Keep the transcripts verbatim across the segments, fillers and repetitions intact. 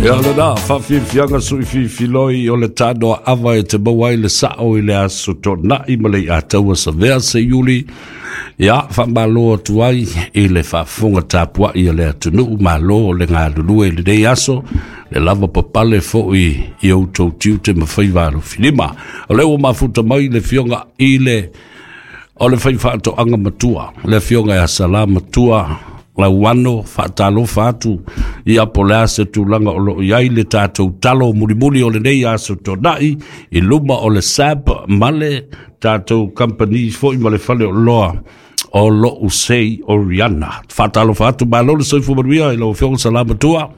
Ia lena, faafiafiaga suʻifiafiloi o le tanoaʻava e te maua ai le saʻo i le aso tonaʻi ma le iataua Savea Seiuli. Ia faamālō atu ai i le faafofoga tapuaʻi a le atunuu. Malo o le galulue i lenei aso, le lava papale foʻi i outou tiute ma faiva alofilima. O lea ua mafuta mai le Afioga i le o le faifaatoaga matua, le Afioga ia Salā Matua Lauano. Faatalofa atu ia po le a se tulaga o loo i ai le tatou talo mulimuli o lenei aso tonaʻi i luma o le S A B ma le tatou company foi ma le fale o loa o loo sei Oriana. Faatalofa atu, malo le soifua manuia i lau Afioga Salā Matua.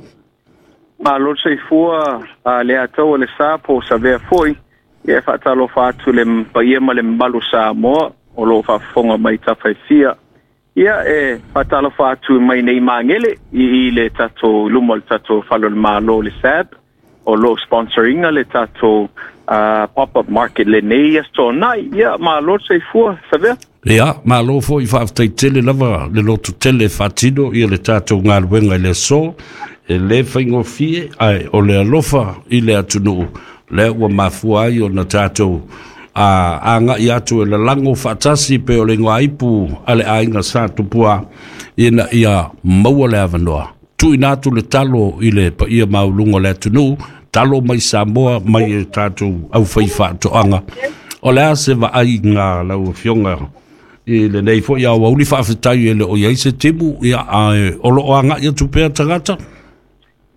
Malo le soifua a le atau o le sa po Savea foi. Ia faatalofa atu le paia ma le mamalu Samoa o loo faafofoga mai tafaifia. Ia e faatalofa atu mai nei Magele i, i le tatou luma o le tatou fale o le Malo, le S A B, o loo sponsoringa le tatou uh, pop-up market lenei aso tonaʻi. Ia malo le soifua, Savea. Ia, malo foi, faafetai tele lava le loto tele faatino ia le tatou galuega i le aso. E lē faigofie, ae o le alofa i le atunuu lea ua mafua ai ona tatou a agaʻi atu e lalago faatasi pe o le igoaipu a le aiga Sa Tupua ina ia maua le avanoa tuuina atu le talo i le paia maualuga o le atunuu, talo mai Samoa mai e tatou aufaifaatoaga. O le a se vaaiga lau Afioga i lenei foi aoauli? Faafetai e le o i ai se timu, ia, ae o loo agaʻi atu pea tagata.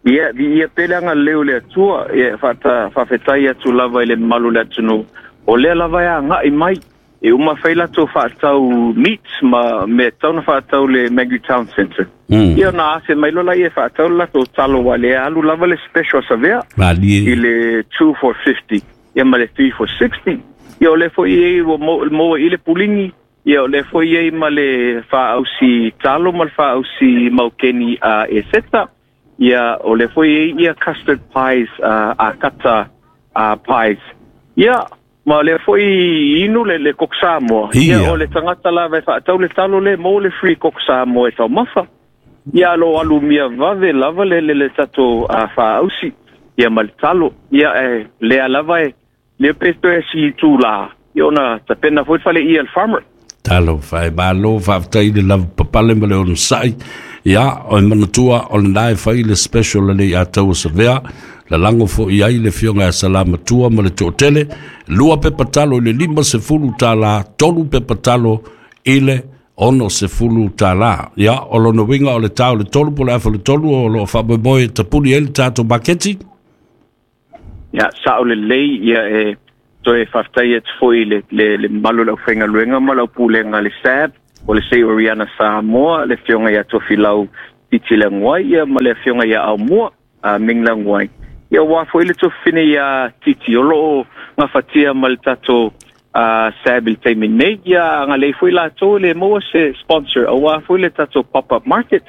Ia viia pele agalelei o le Atua. Ia faata faafetai atu lava i le mamalu o le atunuu o lea lava e agaʻi mai e uma fai latou faatau meat ma mea tatau na faatau le Magri Town Center. Mm. Ia na afe mai lola ia faatau le latou talo ua le alu lava le special Savea malie i le two for fifty ia ma le three for sixty. Ia o le foi ai ua maua i le puligi. Ia o le foi ai ma le faausi talo ma le faausi maukeni a e seta. Ia o le foi ai ia custard pies, uh, a kata uh, pies. Ia ma le foi inu le, le koko Samoa. Ia Ia. o le tagata lava e faatau le talo le mo le free koko Samoa e taumafa. Ia lo alu mia vave lava le le, le tatou uh, faausi ia ma le talo. Ia e lea lava e le pe toe si tūlā. Ia ona tapena foi fale ia le farmer. Talo fai, malo, faafetai le lava papale ma le onosaʻi. Ia o e manatua o lenā e fai le special le iataua Savea, lalago foʻi ai le Afioga ia Salamatua ma le toatele. Lua pepa talo i le lima sefulu tālā, tolu pepa talo i le ono sefulu tālā. Ia o lona uiga o le tā o le tolu po le afa le tolu o loo faamoemoe tapuni ai le tatou maketi. Ia sao lelei. Ia e toe faafetai atu foi le, le, le mamalu o le aufaigaluega ma lau pulega le S A B o le Sei Oriana Samoa, le Afioga ia Tofilau Titi Leaguai ia ma le Afioga ia Aumua a Ming Leaguai. Ia ua foi le tofine ia Titi o loo gafatia ma le tatou uh, S A B i le taimi nei. Ia agalelei foi latou le maua se sponsor auā foi le tatou pop-up market.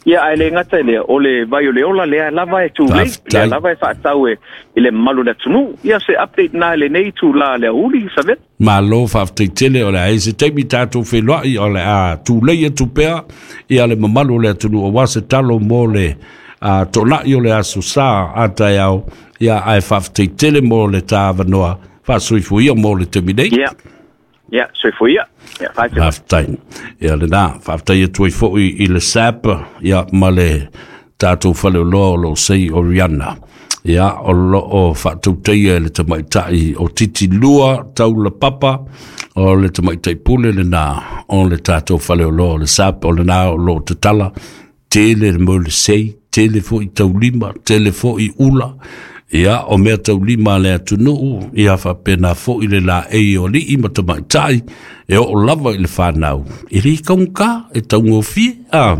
Ia ae le gata i lea, o le vai o le ola lea lava e tulei, Faafetai. lea lava e faatau e i le mamalu o le atunuu. Ia se update na lenei tūlā le auli, Savea. Malo, faafetai tele. O le a se taimi tatou feiloai, o le a tulei atu pea ia le mamalu o le atunuu auā se talo mo le a tonaʻi o le aso Sa a taeao. Ia ae faafetai tele mo le tāvanoa, faasoifuia mo le taimi nei. Ia ia soifua ia, ia faate. Faafetai. Ia lenā, faafetai atu ai foʻi i le S A B ia ma le tatou faleoloa o loo sei Oriana, ia o loo faatautaia e le tamaitaʻi o Titi Lua Taula Papa, o le tamaitaʻi pule lenā o le tatou faleoloa o le S A B, o lenā o loo tatala tele le mo le sei tele foʻi taulima tele foʻi ula. Ia o mea taulima a le atunuu, ia faapena foʻi le laei o alii ma tamaitaʻi e oo lava i le fanau e lē taugata, e taugofie a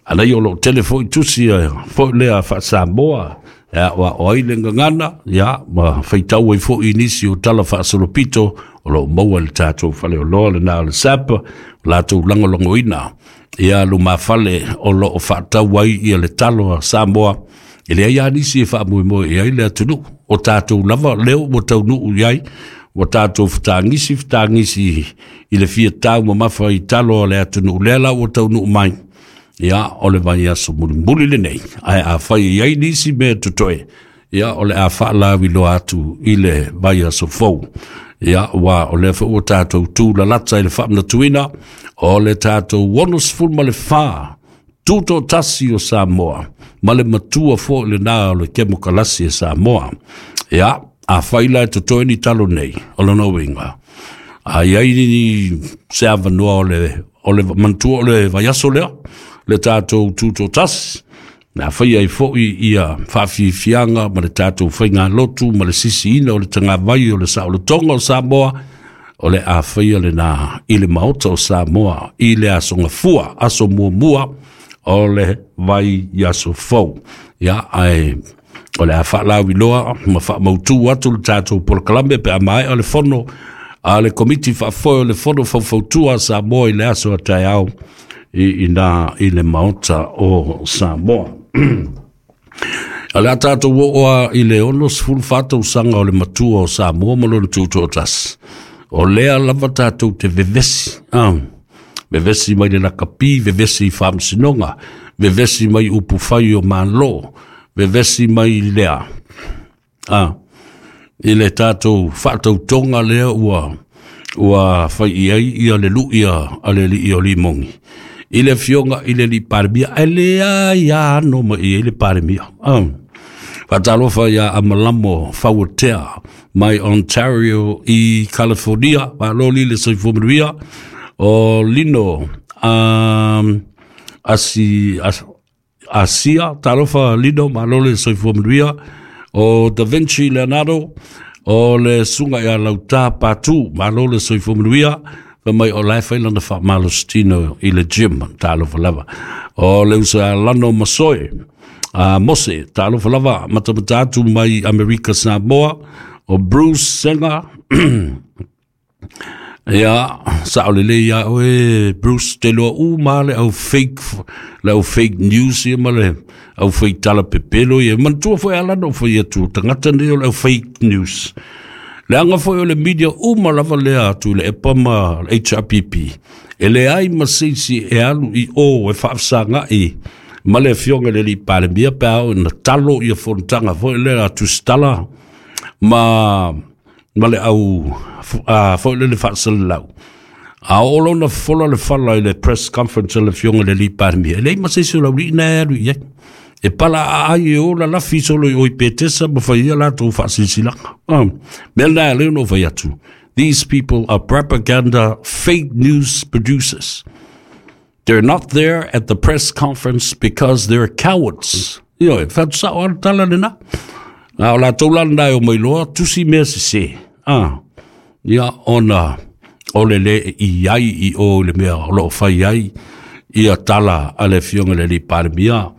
anai o loo tele foʻi tusi foʻi lea faasamoa e aʻoaʻo ai le gagana, ia ma faitau ai foʻi nisi o tala faasolopito o loo maua i le tatou faleoloa lenā o le S A P, o latou lagolagoina ia lumafale o loo faatau ai ia le talo a Samoa. E leai a nisi e faamoemoe i ai le atunuu o tatou lava leo ua taunuu i ai, ua tatou fetagisi fetagisi i le fia tau mamafa i talo o le atunuu lea la ua taunuu mai. Ia, o le vaiaso mulimuli lenei, ae afai e i ai nisi mea totoe, ia, o le a faalauiloa atu i le vaiaso fou. Ia, ua o lea foi ua tatou tulalata i le faamanatuina o le tatou onosefulu ma le fa tutoatasi o Samoa, ma le matua foi lena o le kemokalasi e Samoa. Ia, afai la e totoe ni talo nei, o lona uiga, a i ai ni se avanoa o le, o le manatua o le vaiaso lea, le tatou tutoatasi, na fai ai foi ia faafiafiaga ma le tatou faigalotu ma le sisiina o le tagavai o le saolotoga o Samoa, o le a faia lena i le maota o Samoa i le aso gafua, aso muamua o le vaiaso fou. Ia, ae o le a faalauiloa ma faamautu atu le tatou polokalame pe a maea le fono a le komiti faafoe o le fono faufautua a Samoa i le aso a taeao i ina i le maota o Samoa. O le a tatou oo a i le onosefulu fa tausaga o le matua o Samoa ma lona tutoatasi. O lea lava tatou te vevesi, ah, vevesi mai le lakapi, vevesi i faamasinoga, vevesi mai upu fai o Malo, vevesi mai lea, ah, i le tatou faatautoga lea ua ua fai i ai ia le lui a le alii o Limogi i le afioga i le alii Palemia, ae leai ano mai i ai le Palemia. Ah. Faatalofa ia Amalamo Fauatea mai Ontario i California, malo le soifua manuia. O Lino um, asi, as, Asia, talofa Lino, malo le soifua manuia. O Da Vinci Leonardo, o le suga ia Lauta Patu, malo le soifua manuia. Fa mai o lae fai lana faamalositino i le gym, talofa lava. O le usa Lano Masoe, uh, Mose, talofa lava, matamata atu mai Amerika Samoa. O Bruce Senga, ia, sao lelei ia oe Bruce, te loa u ma le au fake, le au fake news ia ma le au fake tala pepelo ia. Manatua foi ala no foi atu, tagata nei o le au fake news. Le anga foi o le media uma lava lea atu le E P A ma H R P P. E le ai ma seisi e alu i o e faafesagai ma le afioga i le alii Palemia pe a oo ina talo ia fonotaga foi lea a tusitala ma ma le au a foi le faasalalau. A oo lona fola le fala i le press conference a le afioga i le alii Palemia, e leai ma se isi o laulii na e alu i ai. E pala aai e ola lafi solo i oi petesa ma fai ia latou faasilasilaga. Ah, mea lena e leo no fai atu. These people are propaganda fake news producers. They're not there at the press conference because they're cowards. Ioe, fatusao ala tala lena. A o latou la lena e o mai loa, tusi mea sese. Ah, ia ona o le le i ai i o le mea o loo fai ai ia tala a le afioga i le alii Palemia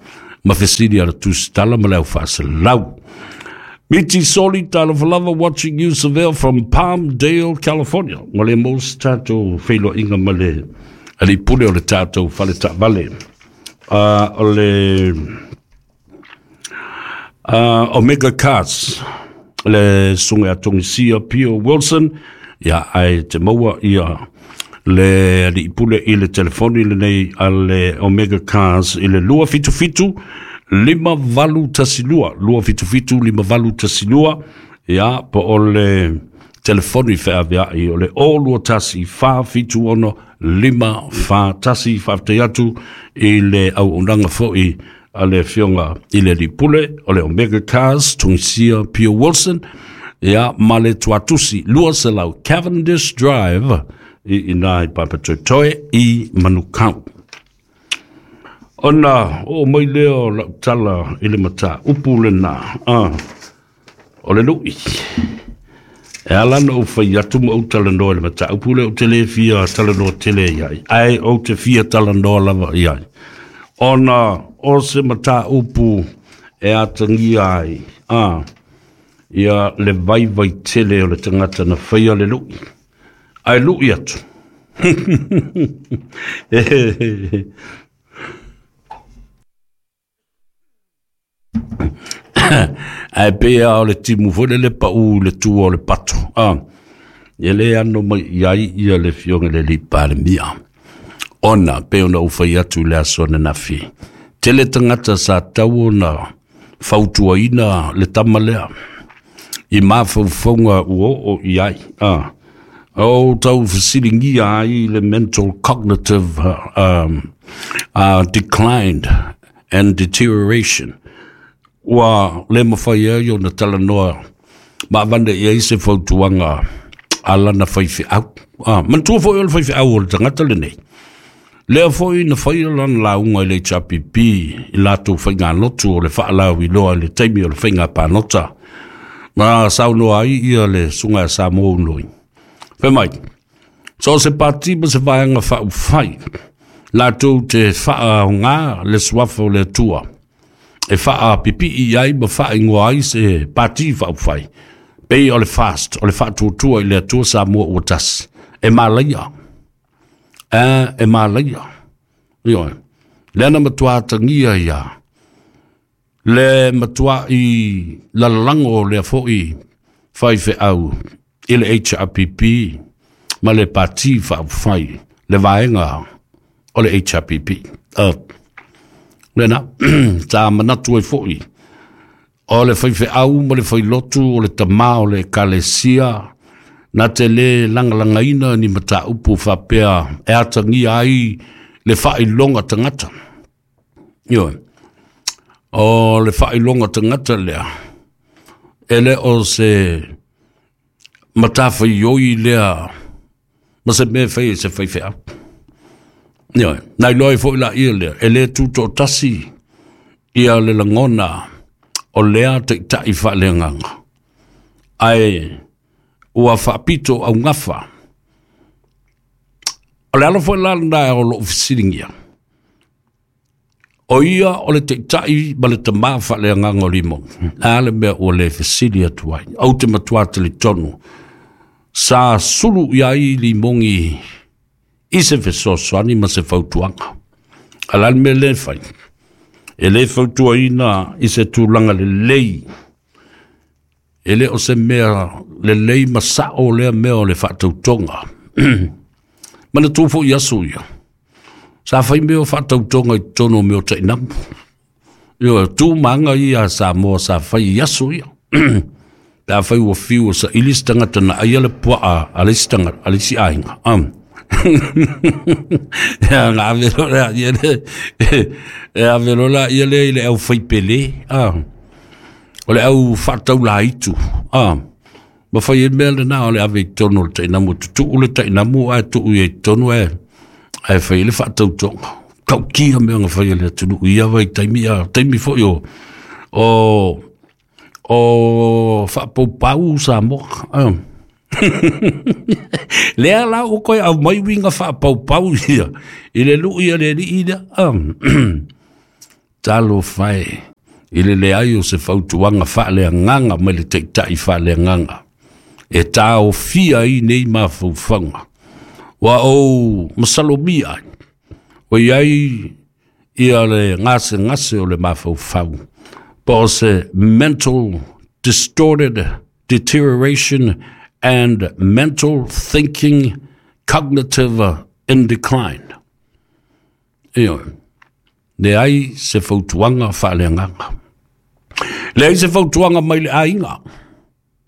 ma fesili a le tusitala ma le au faasalau. Miti Soli, talofa lava, watching you Seville from Palmdale, California. Ma le mo se tatou feiloaiga ma le alii pule o le tatou fale taavale. Uh, o le uh, Omega Cars, le susuga ia Togisia Pio Wilson, ia ae te maua ia le alii pule i le telefoni lenei a le Omega Cars i le lua fitu fitu lima valu tasi lua, lua fitu fitu lima valu tasi lua, ia po o le telefoni feaveai o le o lua tasi fa fitu ono lima fa tasi. Faafetai atu i le auaunaga foi a le afioga i le alii pule o le Omega Cars, Togisia Pio Wilson, ia ma le tuatusi lua selau Cavendish Drive i ina i Papatoetoe i Manukau. Ona oo mai lea o lau tala i le mataupu lena, ah, o le lui. E ala na ou fai atu ma ou talanoa i le mataupu lea, ou te le fia talanoa tele i ai, ae ou te fia talanoa lava i ai. Ona o se mataupu e atagia ai, ah, ia le vaivai tele o le tagata na faia le lui. Ae lui atu. Ae pei a o le timu foi le le pau i le tua o le pato. Ah, e le ano mai i ai ia le afioga i le alii Palemia. Ona pe ona ufai atu le aso ananafi. Tele tagata sa tatau ona fautuaina le tama lea i mafaufauga ua oo i ai. Ah. O tau fesiligia ai le mental cognitive um, uh, decline and deterioration. Ua le mafai ai ona talanoa ma avane i ai se fautuaga a lana faifeau. Ah, manatua foi o le faifeau o le tagata lenei. Lea foi na faia lana lauga i le H R P P i latou faigalotu o le faalauiloa i le taimi o le faiga palota. Ma saunoa ai ia le susuga ia Samoa Unoi. Fai mai, so o se pati ma se vaega faaufai, latou te faaaoga le suafa o le Atua e faapipii ai ma faaigoa ai se pati faaufai, pei o le fast, o le faatuatua i le Atua Samoa ua tasi, e malaia. A, e malaia. Ioe. Lea na matua atagia ia, le matua i lalago lea foi faifeau i le H R P P ma le pati faaufai, le vaega o le H R P P. Uh, lena, sa manatu ai foi, o le faifeau ma le failotu o le tamā o le ekalesia, na te le lagalagaina ni mataupu faapea e atagia ai le faailoga tagata. Ioe. O le faailoga tagata lea, e le o se matafaioi lea ma se mea fai e se faifeau. Ioe. Na iloa ai foi laia lea, e le tutoatasi ia le lagona o lea taitai faaleagaga. Ae ua faapito augafa. O le ala foi la lena o lou fesiligia. O ia o le taitai ma le tamā faaleagaga o Limogi. A le mea ua le fesili atu ai. Ou te matua talitonu. Sa sulu i ai Limogi i se fesoasoani ma se fautuaga. A la le mea le fai. E le fautuaina i se tulaga lelei. E le o se mea lelei ma sao lea mea o le faatautoga. Manatua foi aso ia. Sa fai mea o faatautoga i totonu o mea o tainamu. Ioe, tu maga ia a Samoa sa fai i aso ia. Pe a fai ua fiu o saili se tagata na aia le puaa a le isi tagata, a le isi aiga. Um. Ia, na ave loa lea ia le, e ave loa la ia le i le au faipele. Ah. O le au faataulaitu. Ah. Ma fai e mea lena o le ave i totonu o le tainamu. Tutuu le tainamu ae tuu i ai totonu ae, ae fai le faatautoga. Taukia mea na fai e le atunuu ia vai taimi, a taimi foi o, o, o faapaupau Samoa. Ah. Lea la ua koe au mai uiga faapaupau ia i le lui a le alii lea. Ah. Talofa e i le leai o se fautuaga faaleagaga mai le taitai faaleagaga e taofia ai nei mafaufauga. Ua ou masalomia ai, ua i ai ia le gasegase o le mafaufau, po o se mental distorted deterioration and mental thinking cognitive in decline. Ioe. Leai se fautuaga faaleagaga. Leai se fautuaga mai le aiga,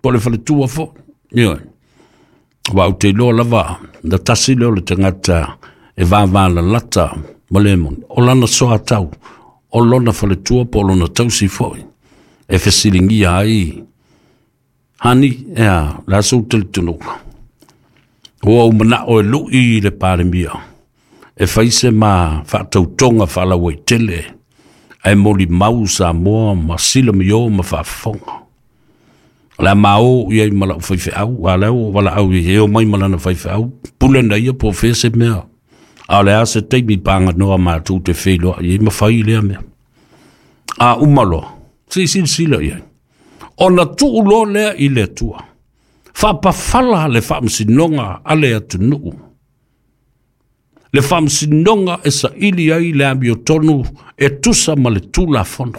po le faletua foi. Ioe. Ua ou te iloa lava, na tasi lea o le tagata e vavalalata ma le moni. O lana soatau, o lona faletua po o lona tausi foi, e fesiligia ai, hani, ea, le aso u talitonuga. Ua ou manao e lui i le Palemia, e fai se ma faatautoga faalauaitele, ae molimau Samoa ma silamio ma faafofoga. O le a mao i ai ma lau faifeau, a lea ua valaau i ai, e omai ma lana faifeau, pule na ia po o fea se mea. A o le a se taimi paganoa matou te feiloai ai ma fai lea mea. A uma loa, se i silasila i ai. Ona tuu loa lea i le Atua. Faapafala le faamasinoga a le atunuu. Le faamasinoga e saili ai le amiotonu e tusa ma le Tulafono.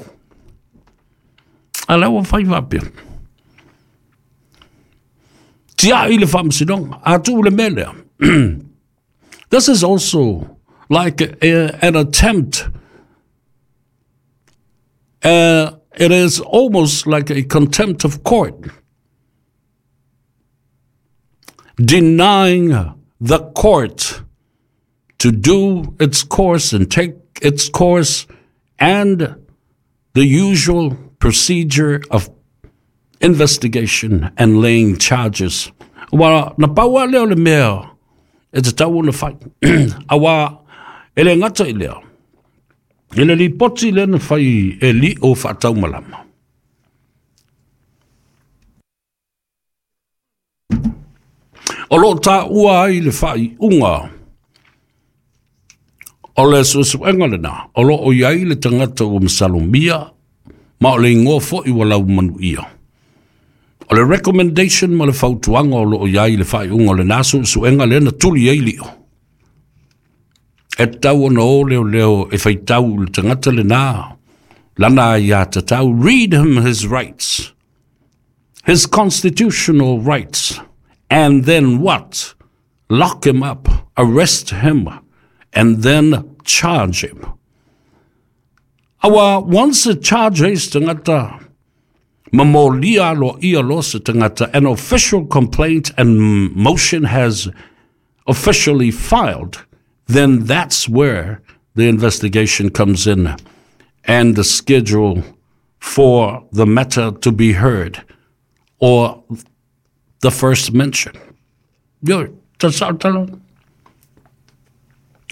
A lea ua fai faapea. Tiai le faamasinoga, a tuu le mea lea. This is also like a, an attempt. Uh, it is almost like a contempt of court, denying the court to do its course and take its course and the usual procedure of investigation and laying charges. Wa na paua leo le mea e te tau ona whai. Awa ele ngata i leo. Ele li poti le na whai e li o whaatau malama. O lo tā ua ai le whai unga o le susuenga lena. O lo o iai le tangata o masalomia ma o le ingoa fo'i wa lau manu ia. O le recommendation ma le fautuanga o lo o iai le whai unga o le nasu suenga lena tuli ai lio. E tau ona o leo leo e whaitau le tangata le nā. Lana ia tatau, read him his rights, his constitutional rights, and then what? Lock him up, arrest him, and then charge him. Awa, once the charge is tangata, mamolia lo ia lo se tangata, an official complaint and motion has officially filed, then that's where the investigation comes in and the schedule for the matter to be heard or the first mention. Yo, ta talo.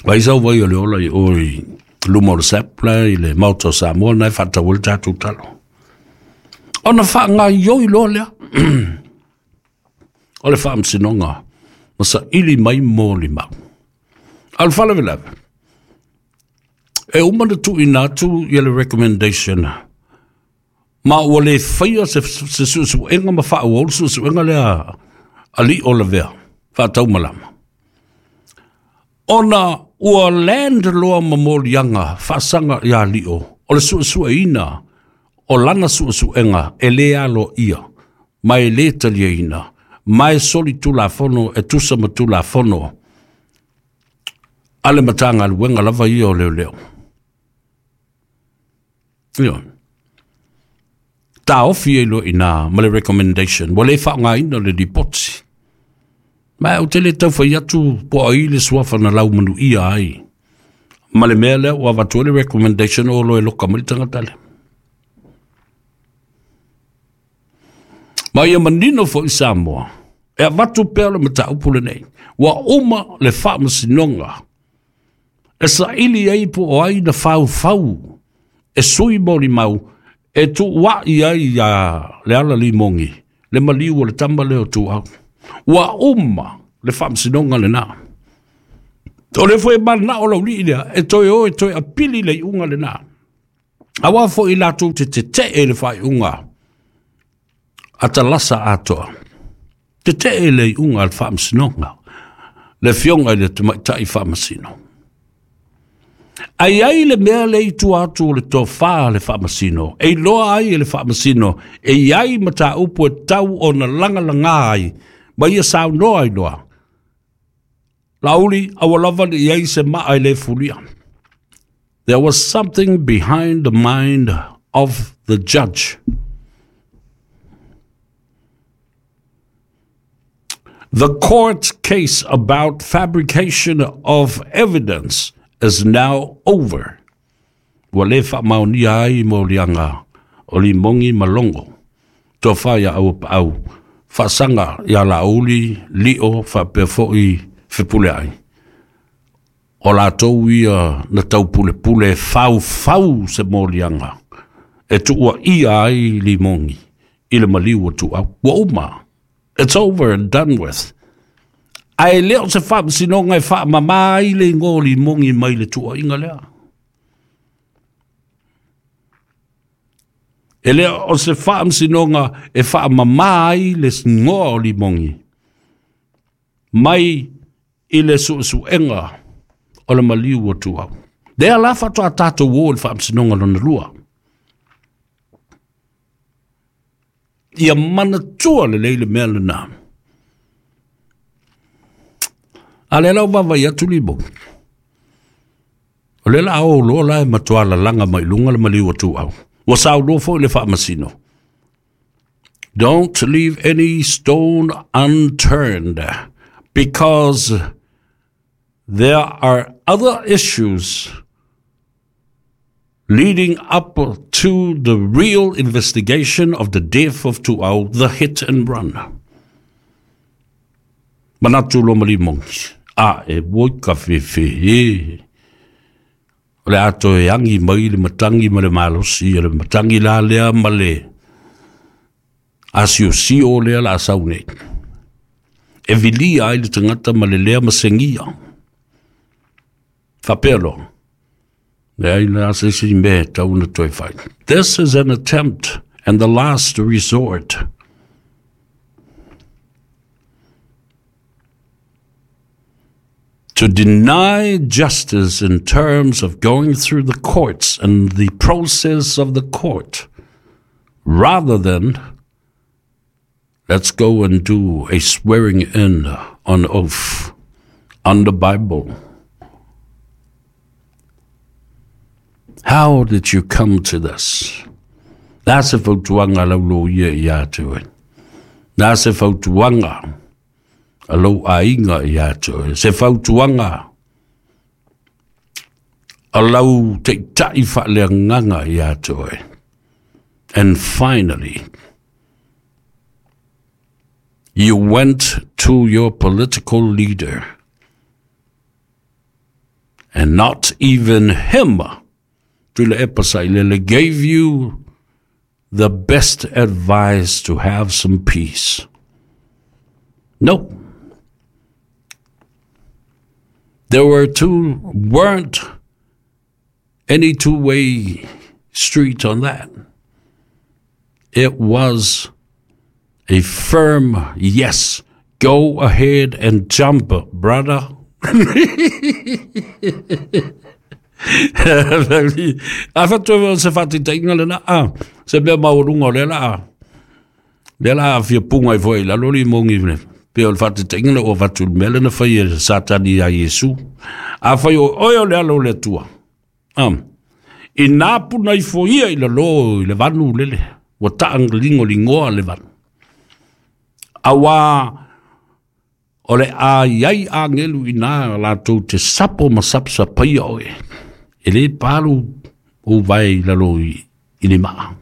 Vai sau vai o le ola i oi luma o le sepla i le mauta o Samoa nai whatawil tātou talo. Ona wha ngā ioi loa lea. O le whaamsinonga ma sa ili mai mō li mau. A le whalavelave. E uma na tuuina atu ia le recommendation. Ma ua le faia se, se suesuega ma faaauau le suesuega lea ali o lavea faataumalama. Ona ua land loa ma moliaga faasaga iā li'o o le suesueina o lana suesuega e lē aloaia ma e lē taliaina ma e soli tulafono e tusa ma tulafono a le matagaluega lava ia o leoleo. Ioe. Taofi e loa ina ma le recommendation ua lē faaaogāina le lipoti. Ma ou te le taufai atu po o ai le suafa na laumanuia ai. Ma le mea lea ua avatu ai le recommendation o lo e loka mai le tagata lea. Ma ia manino fo'i Samoa, e avatu pea le mataupu lenei. Ua uma le faamasinoga e saili ai po o ai na faufau e sui molimau e tuua'i ai ia le ala limogi le maliu o le tama lea o Tuau. Ua uma le faamasinoga lenā. O le fo'i mana'o laulii lea e toe o e toe apili le iuga lenā. Auā fo'i latou te tete'e le faaiuga a talasa atoa. Tete'e le iuga a le faamasinoga le fioga i le tamaita'i faamasino. Ai ai le mea le i tua atu o le tofā le faamasino, e iloa ai e le faamasino, e iai mataupu e tau ona lagalagā ai, ma ia saunoa ai loa. Lauli, aua lava le iai se maa e le fulia. There was something behind the mind of the judge. The court case about fabrication of evidence is now over. Ua lē faamaonia ai moliaga o limogi ma logo. Tofā ia auapaau faasaga iā Laauli li'o faapea fo'i fepule ai. O latou ia na taupulepule e faufau se moliaga e tuuaia ai limogi i le maliu o Tuau. Ua uma. It's over and done with. Ae lē o se faamasinoga e faamamā ai le igoa o limogi mai le tuuaiga lea. E lē o se faamasinoga e faamamā ai le igoa o limogi mai i le suesuega o le maliu o Tuau. Lea la faatoa tatou o i le faamasinoga lona lua. Ia manatua lelei le mea lenā. A le lau vavai atu limogi. O le la o lo la e matua lalaga mai luga le maliu o Tuau. Ua sauloa foi le faamasino. Don't leave any stone unturned, because there are other issues leading up to the real investigation of the death of Tuau, the hit and run. Manatu lo malimogi. A e woi ka fefe e. O le ato e angi mai le matangi ma le malosi, le matangi la lea ma le asio o lea la asau nei. E vilia ai le tangata ma le lea masengia. Whapelo. Le ai le asisi me tauna toi whai. This is an attempt and the last resort. To deny justice in terms of going through the courts and the process of the court, rather than let's go and do a swearing in on oath on the Bible. How did you come to this? Nā se fautuaga lau loia ia te oe. Nā se fautuaga a lou aiga ia te oe. Se fautuaga a lau teita'i faaleagaga ia te oe. And finally, you went to your political leader, and not even him, Tuilaepa Sailele, gave you the best advice to have some peace. No. There were two, weren't any two-way street on that. It was a firm yes. Go ahead and jump, brother. A whatu se whati te inga le na a. Se mea maurunga o le la a. Le la a fia punga i foi la lori mongi le. Pe o le whati te inga le o whatu mele na whai e satani a Yesu. A whai o oe o le alo le tua. Um, I nā puna i foia i la lo i le vanu lele. Wa taang lingo lingoa le vanu. Awa o le a iai a ngelu i nā lātou te sapo ma sapsa paia oe. E le palu o vai lalo i, i le maa.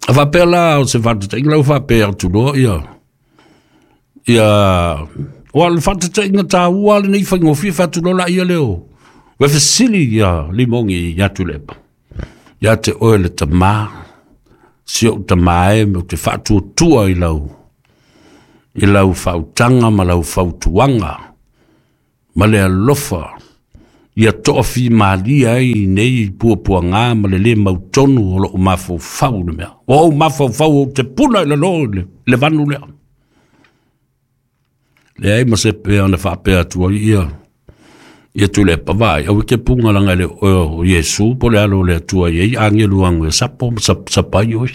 A whapea la o se whatatenga lau whapea atu loa ia. Ia, o le whatatenga tā ua le nei whaingofia whatu loa la ia leo. Wefesili ia limongi ia tulepa. Ia te oe le tamā. Si o tamae me o te whaatuatua i lau. I lau whautanga ma lau whautuanga. Ma le alofa. Ia toafi malia ai nei puapuanga ma le le mautonu o loo mafaufau le mea. O au mafaufau o te puna i lalo le, le vanu lea. Le ai ma se pea na whaapea atua ia. Ia tu le pavai. Au ke punga langa le o Yesu po le alo le atua iei. Angelu angu e sapo sap, sapai oi.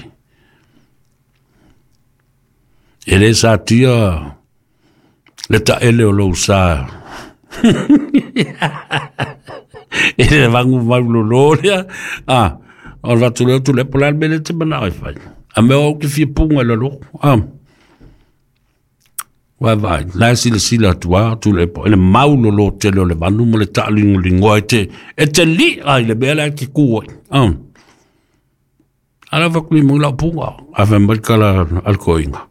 E le sa tia le ta ele o lou sa. E le vangu maulo lo lea. Ah, o le vatu leo tu le pola mele te mana ai whai. A mea au ke fia punga lalo. Ah. Vai vai, la sila sila tua tu le po. Ele maulo lo te le vanu mo le talingo lingoa e te e te li ai le bela ki ku. Ah. Ala va kuli mo la punga. A fa mai kala alkoinga.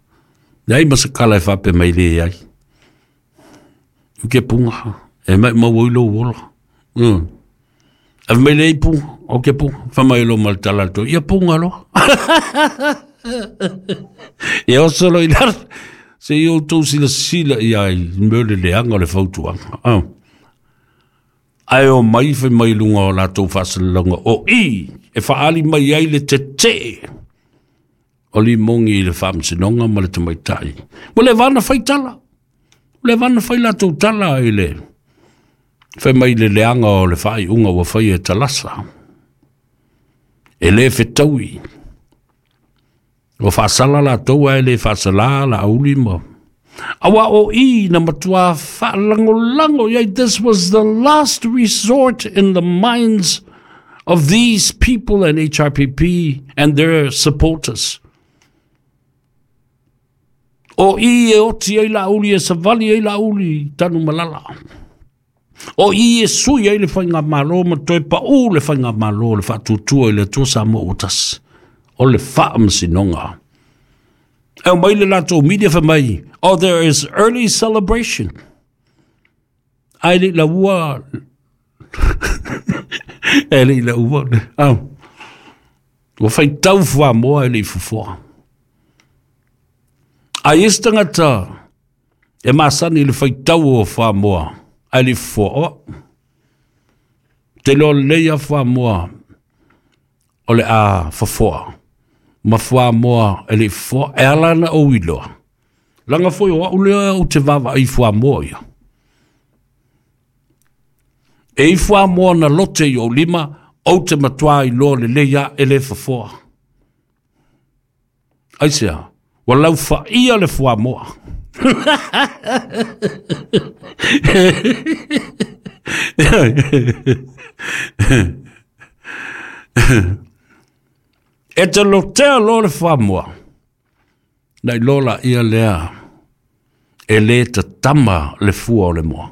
Nei ma se kala e fape mai le ai. Ke punga. E mai mo wo lo wola. Mm. A mai le punga, o ke punga. Fa mai lo mal tala to. Ia punga lo. E o solo i lar. Se i o tau sila sila i ai mele leanga le fautuanga. Ah. Ai o mai whai mai lunga o lātou whaasalanga o i e whaali mai ai le te te o li mongi i le whaamsinonga ma le tamaitai. Mo le vana whai tala. Mo le vana whai lātou tala i le whai mai le leanga o le whai unga wa whai e talasa. E le whetaui. O whaasala lātou ai le whaasala la auli ma. Aua o i na matua whaalangolango. Yeah, this was the last resort in the minds of these people and H R P P and their supporters. O i e oti ai la uli e savali ai la uli tanu malala. O i e sui ai le whainga malo ma toe pa u le whainga malo le whaatutua i le tua sa mo utas. O le whaamasinonga. E mai le lato media fa mai. Oh, there is early celebration. Ai le la ua. E le la ua. Oh. Ua whai tau fua moa e le fufua. Ai isi tangata e masani le whai tau o fua moa. Ai le fufua o. Te lo leia fua moa o le a fafua. Ma fua moa e le fufua. E alana o iloa. Langa foi o au lea o te wawa i fua moa ia. E i fua moa na lote i o lima, o te matua i loa le leia e le fafua. Ai sea, wa lau fa ia le fua moa. E te lotea loa le fua moa. Nei lola ia lea e le tatama le fua o le moa.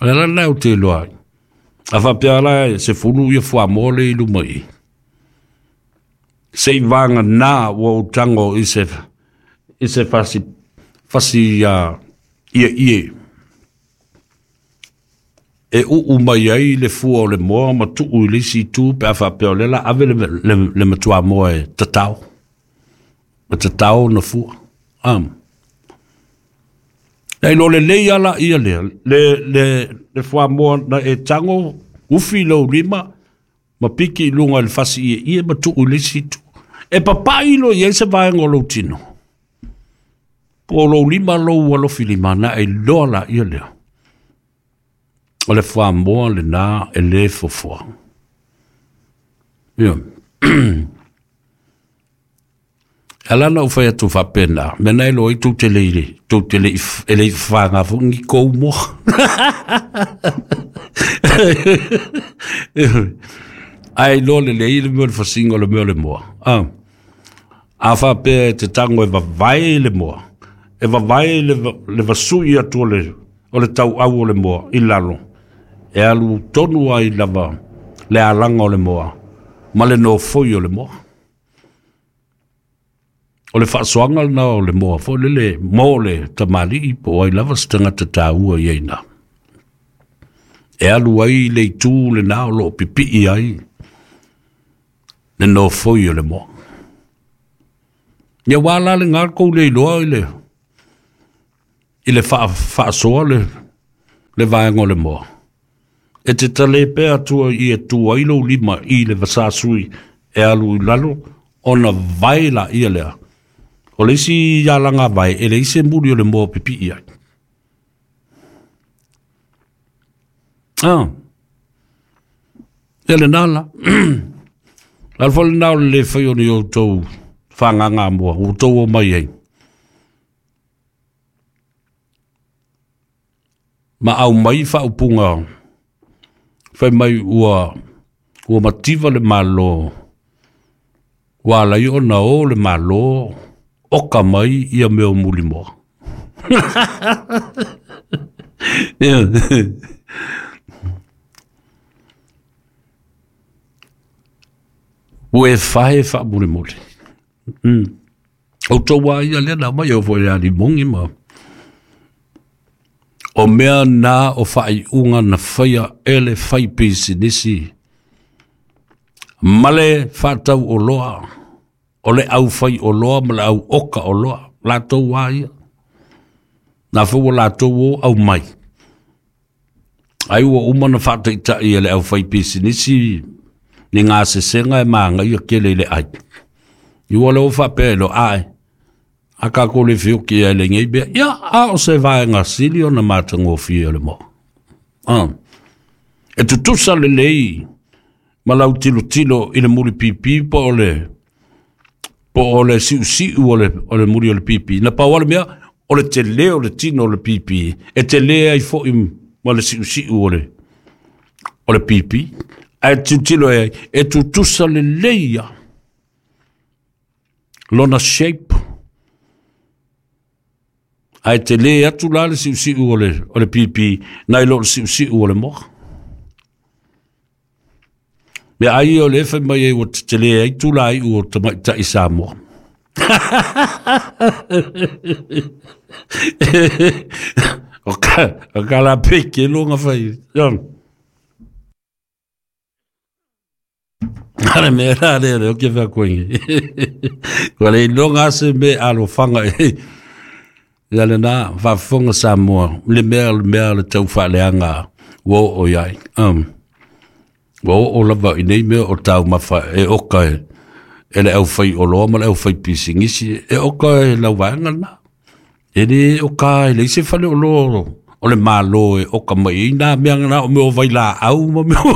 Le la leo te loa. A whapea la se fulu ia fua moa le ilu mai. Se i vanga nā ua utango i se, i se fasi, fasi uh, ia ie. E uu mai ai le fua o le moa ma tuu i le isi tu pe a whapea o lela ave le, le, le matua moa e tatao. E tatao na fua. Um. Nei lo le lei ala ia lea. Le, le, le fua moa na e tango ufi lau lima ma piki i lunga i le fasi ia ia ma tuu i le isi tu. E papai lo ia se vaenga o lou tino. Po lou lima lou alofi lima na e loa la ia lea. O le fua moa le nā e le fofua. Ia. Alana u whai atu whapena. Mena e loa i tau te leile. Tau te le e le whanga whangi kou moa. Ai loa le lei le mea le whasinga le mea le moa. Ah. A whapea e te tango e vavae le moa. E vavae le, le vasui atu o le, o le tau au o le moa i lalo. E alu tonu ai lava le alanga o le moa. Ma le nofoi o le moa. O le whaasoanga na o le moa fo lele mō le tamali po ai lava se tangata tāua i aina. E alu ai le itu le nā o lo pipii ai le nofoi o le moa. Ia wā la le ngā kou le iloa i le i le whaasoa le le vaenga o le moa. E te tale pea atua i e tua i lou lima i le vasasui e alu i lalo ona vai la ia lea. O le isi alanga vai, e le isi muri o le moa pipi ai. Ah. E le nala. Lal fo le nao le whai o ni o tau whanganga moa, o tau o mai ai. Ma au mai whaupunga, whai mai ua, ua mativa le malo, ua lai o na o le malo, oka mai ia meo muli moa. Ua e whae wha muli muli. Mm. O tau ia lea na mai o fo ia li mongi ma. O mea nā o whai unga na whaia ele whai pisi nisi. Male whatau o loa. O le au whai o loa ma le au oka o loa. Lātou wā ia. Nā fua lātou o au mai. Ai ua uma na whataitai e le au whai pisi nisi. Ni ngā sesenga e maanga ia kele i le ai. I ua le o whapea lo ai. A ka ko le whioki e le ngei bea. Ia a o se vaenga sili o na mātangōwhia o le moa. Ah. E tutusa le lei. Ma lau tilo tilo i le muri pipi po o le Po o le siusiu o le, o le muri o le pipi. Na pau ale mea, o le tele o le tino o le pipi. E tele ai fo'i ma le siusiu o le, o le pipi. Ae tilotilo e ai, e tutusa lelei ia lona shape. Ae tele atu la le siusiu o le, o le pipi, nai lo le siusiu o le moa. Mea ai o le fai mai ai ua tetele ai tula ai ua tamaitai Samoa. O ka, o ka la peke longa fai. Ale mea la le le o ke wha koingi. Kua le ilonga ase me alofanga e. Ia le nā, whaafonga Samoa. Le mea le mea le tau whaaleanga ua o iai. Um, ua o lava i nei mea o tau mafa e oka e, e le au whai oloa ma le au whai pisingisi e oka e lau vaenga na. E le oka e le ise whale oloa o le malo e oka mai i nā mea ngana o meo vai la au ma meo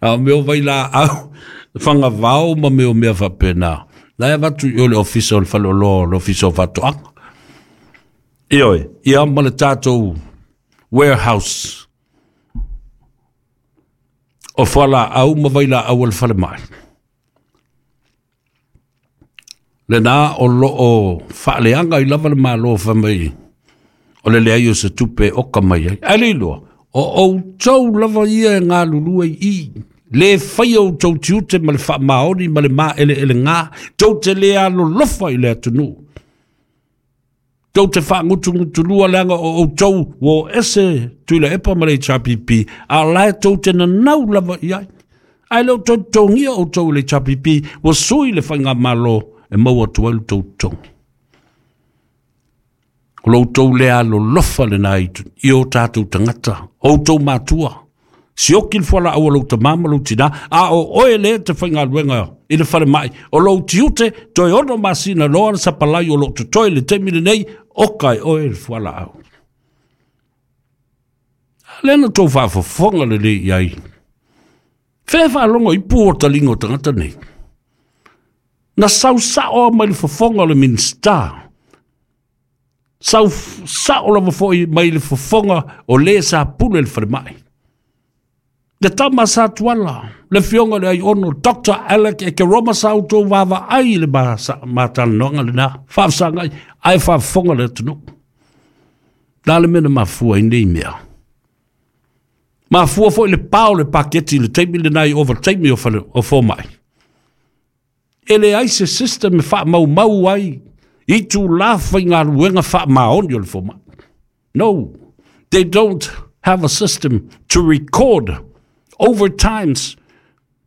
a meo vai la au whanga vao ma meo mea whapena. La e watu i o le ofisa o le whale oloa o le ofisa o whatoanga. Ioe, ia ma le tātou warehouse o whala au ma vai la au al whale mai. Le nā o lo o whaaleanga i lava le malo wha mai o le lea o se tupe oka mai ai. Ale loa, o o tau lava ia e ngā lulua i le whai o tau tiute ma le wha maoni ma le mā ele ele ngā tau te lea lolofa i le atunu. Tau te wha ngutu ngutu lua leanga o o tau wo ese tuila epa ma le H R P P a lae tau te nanau lava i ai. Ai leo tau tongia o tau le H R P P wa sui le whainga malo e maua tualu tau tongi. O lou tau lea lolofa le nā i o tātou tangata, o tau mātua. Sioki le fuala aua lou tamama lou tina, a o oe le te whainga luenga i le whare mai. O lou tiute, toi ono masina loa le sapalai o lou totoe le temi le nei, oka e oe le fuala au. Lena tau whaafofonga le le iai. Whea whaalongo i pū o talingo tangata nei. Na sau sao mai le fofonga o le minista. Sau sao lava foi mai le fofonga o le sa pule le whare mai. Le tama sa tuala, le fionga le ai ono, Doctor Alec e ke Roma sa auto wawa ai le mātalanoanga le nā, whaafsanga ai, ai whaafonga le atunu. Nā le mena mafua i nei mea. Mafua foi le pao le paketi le teimi le nai over teimi o, whale, o fōmai. E le ai se system e wha mau mau ai, i tū la whai ngā ruenga wha maoni o le fōmai. No, they don't have a system to record over times.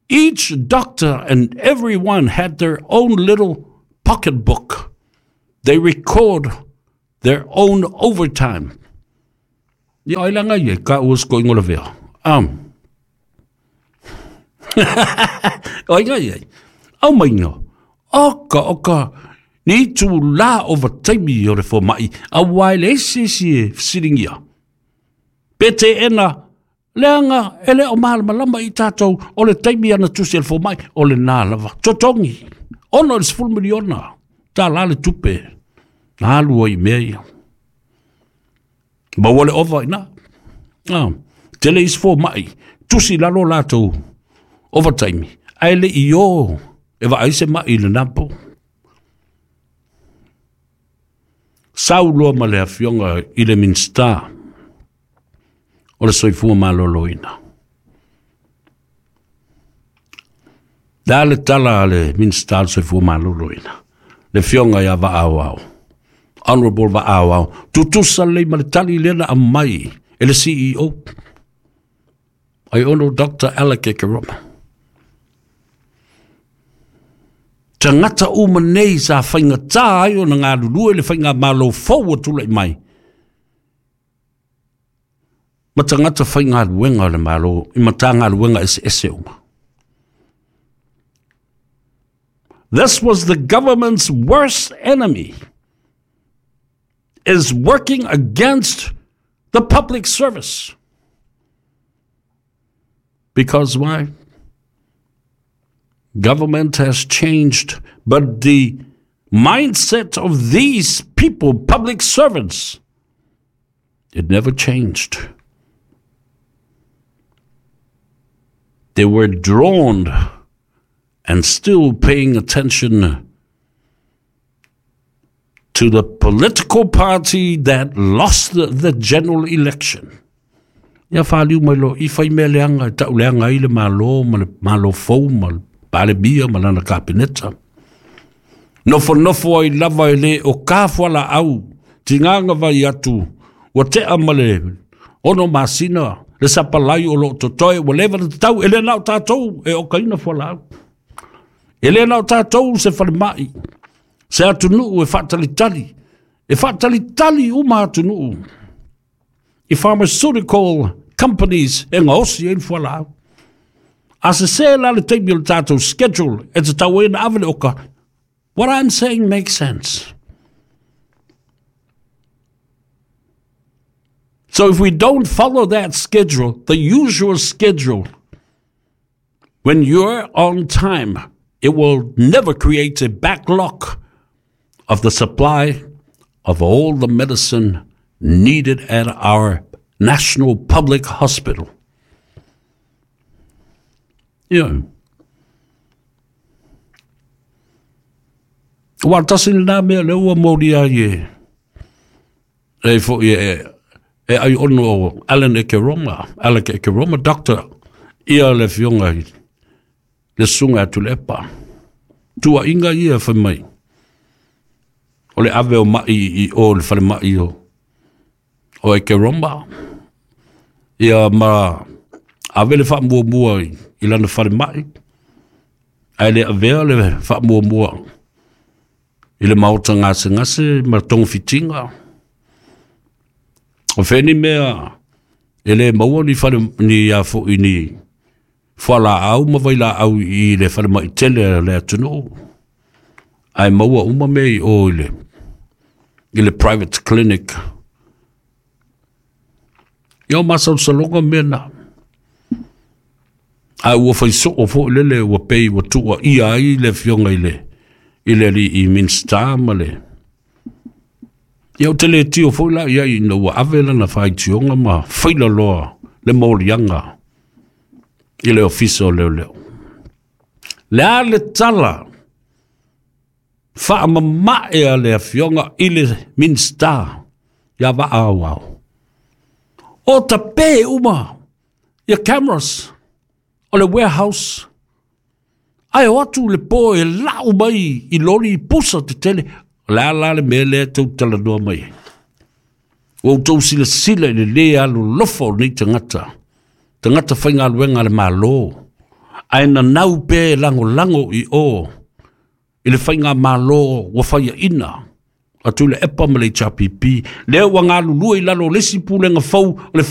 Each doctor and everyone had their own little pocketbook. They record their own overtime. Ia ai langa ia, ka uas ko ingola vea. Um. Ai ngai ai. Au mai ngā. Oka, oka. Ni tū la overtime o le fōmai. A wai le esi esi e whisiringia. Pete ena, leanga, e le o malamalama i tātou, o le taimi ana tusi el fōmai, o le nā lava. Totongi. Ono le sefulu miliona. Tā la le tupe. Nā lua i mea ia. Maua le ova i nā. Ah, tele is fōmai. Tusi lalo lātou overtime. Ai le i o, e wa aise mai i le napo. Sau loa ma le afioga i le minista o le soifua malōlōina. Da le tala a le minista o le soifua malōlōina. Le afioga ia Vaauau. Honorable Vaauau. Tutusa lei ma le tali lena a mai e le C E O. Ai ono Doctor Alec Ekeroma. Tangata uma nei sa whainga tā ai o na ngā lulua le whainga malo fau tula i mai. Ma tangata whainga luenga o le malo, i matanga luenga ese ese uma. This was the government's worst enemy, is working against the public service. Because why? Government has changed, but the mindset of these people, public servants, it never changed. They were drawn and still paying attention to the political party that lost the, the general election. Ia whaliu mai lo, i whai mea leanga, tau leanga i le malo, ma le malo fou, ma le palemia, ma lana kapineta. Nofo nofo ai lava e le o ka fuala au, tinganga vai atu, wa tea ma le ono masina, le sapalai o lo totoe, wa leva le tau, e le nao tātou, e o kaina fuala au. E le nao tātou se whalemai, se atunuu e whaatalitali, e whaatalitali uma atunuu. I pharmaceutical companies e ngaosi e fuala au. A se se la le taimi o le tātou schedule, e te tau e na awele oka. What I'm saying makes sense. So if we don't follow that schedule, the usual schedule, when you're on time, it will never create a backlog of the supply of all the medicine needed at our national public hospital. Yeah. Wa tasi nā mea le ua mori ai e. E fo e e ai ono o Alan Ekeroma, Alan Ekeroma, doctor, ia le fionga i le sunga atu le epa. Tua inga ia whai mai. O le ave o mai i o le whare mai o o Ekeroma. Ia ma ave le wha mua mua i, i lana whare mai. Ai le avea le wha mua mua i le maota ngase ngase ma tonga fitinga. O wheni mea e le maua ni whare ni a fo i ni whala au ma vai la au i le whare mai tele le atunu. Ai maua uma me i o i le, i le private clinic. Ia o masau salonga mea na. Ai ua whai soo fo lele ua pei ua tua ia ai le fionga i le i le li i minsta ma le. Ia o te le tio fo la ia i na ua ave lana whai tionga ma whaila loa le morianga i le ofisa o leo leo. Le a le tala wha mamae a le afionga i le minsta ia wa au au. O tape uma ia cameras o le warehouse. Ai o atu le po e lau mai i lori i pusa te tele. La la le mele tau tala noa mai. O tau sila sila i le le alu lofo nei tangata. Tangata whainga luenga le malo. Ai na nau pe lango lango i o. I le whainga malo wa whaia ina. Atu le epa ma le H R P P. Lea ua ngā lulua i lalo lesi pulenga fau le